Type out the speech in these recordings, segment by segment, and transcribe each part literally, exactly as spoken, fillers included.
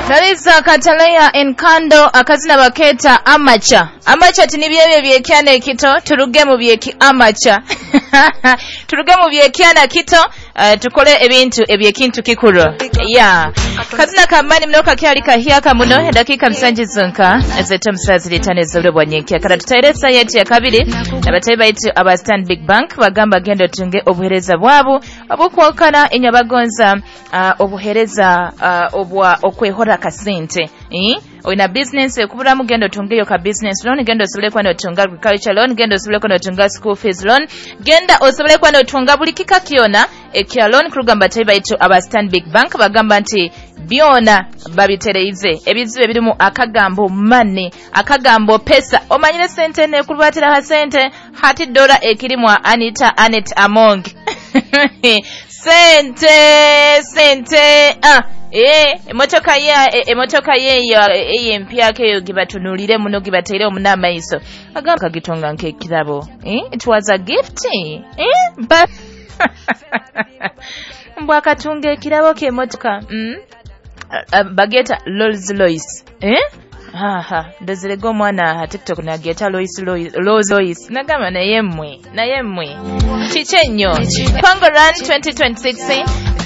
Naliza Kataleya Enkando akazina baketa amacha. Amacha tinibyebye byekyana ekito turuge mu byeki amacha. Turuge mu byekyana kito uh, tukole ebintu ebyekintu kikuru. Yeah. Kazina kamani mnoka kyali kahyaka muno dakika msanji zonka ezeta msazi litane zobwe bwanyenkia kala tutairesa yetu ya kabiri nabatayi baitu aba Stanbic Bank bagamba gendo tunge obuhereza bwabu obukwokana inyabagonza uh, obuhereza uh, obwa okwehora kasente eh? Oyina business ekubulamu genda otungeyo ka business loan, genda osobole kuba n'otunga agriculture loan, genda osobole kuba n'otunga school fees loan, genda osobole kuba n'otunga buli kika kyona ekya loan kurugamba batayi baitu aba Stanbic Bank bagamba nti byona babitereize ebizibu ebirimu akagambo money, akagambo pesa, omanyire sente nekurubatira ha sente hati dola ekirimwa Anita Anet Among sente sente ah eh emotoka ye emotoka ye eyempyako eyo gibatunulire muno gibateire omunamaiso agamba kagitonga nk'ekirabo eh it was a gift eh but mbwa akatunga ekirabo k'emotoka mm? uh, bageta Rolls Royce eh haha ndezerega omwana TikTok nageta Lois Lois Rolls Royce nagamba naye mmwe naye mmwe kiki ennyo Congo Run twenty twenty-six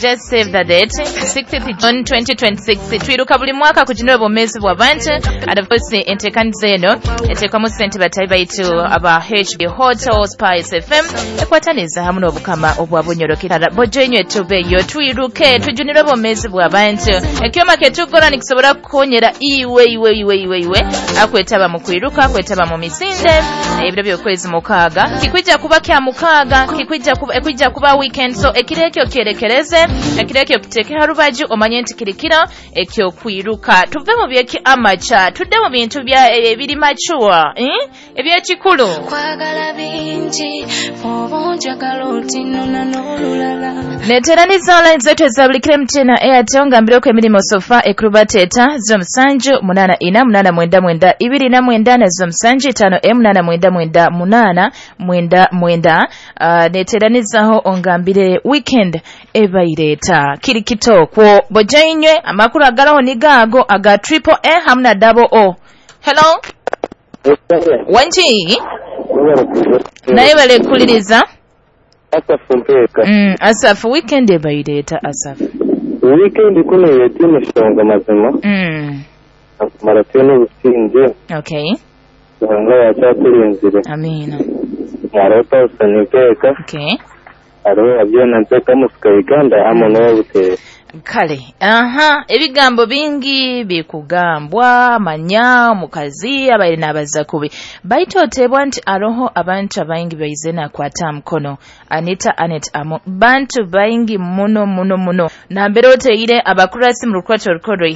just save the date sixtieth June twenty twenty-six twiruka buli mwaka kujinira obwomeezi bw'abantu and of course enteekaniza eno eteekamu ssente batayi baitu aba H B Hotel Spice F M ekwataniza hamu n'obukama obwa Bunyoro bojo inywe tubeeyo twiruke tujunire obwomeezi bw'abantu ekyoma ketugora nikisobola kukonyera iwe iwe iwe iwe iwe akwetaba mu kwiruka akwetaba mu misinde ebiro by'okwezi mukaaga kikwijja kuba kya mukaaga kikwijja kuba ekwijja kuba weekend so ekiro ekyo kyerekereze ekiro ekyo kiteeke harubaju omanye nti kirikiro ekyo kwiruka tuve mu byeki amacha tudde mu bintu bya ebiri mature eh ebyekikulu kwagala bingi obonjagala otinona n'olulala neteraniza online zetu ezabulikire mtena Airtel ngambireko emirimu sofa ekrubateta z'omusanju munana ina munana mwenda mwenda ibiri na mwenda na z'omusanju itano e munana mwenda mwenda munana mwenda mwenda uh, neteranizaho ongambire weekend ebaireta kiri kitokwo bojainywe amakuru agalaho nigago aga triple A hamna double O. Hello wanji naye balekuliriza Asafu mpeka mm, Asafu weekend ebaireta Asafu weekend kuno yetimu shonga mazima mm. akumara teno businje okay nga yachakulinzire amina marota usanipeka okay aro abyona mpeka musika Uganda amo n'obutera kale aha ebigambo bingi bikugambwa manya mukazi abaire n'abaza kubi baitu otebwa nti aroho abantu abaingi baize nakwata mkono Anita Anet Amo bantu baingi muno muno muno nambere oteire abakurasi mu rukwato rukoro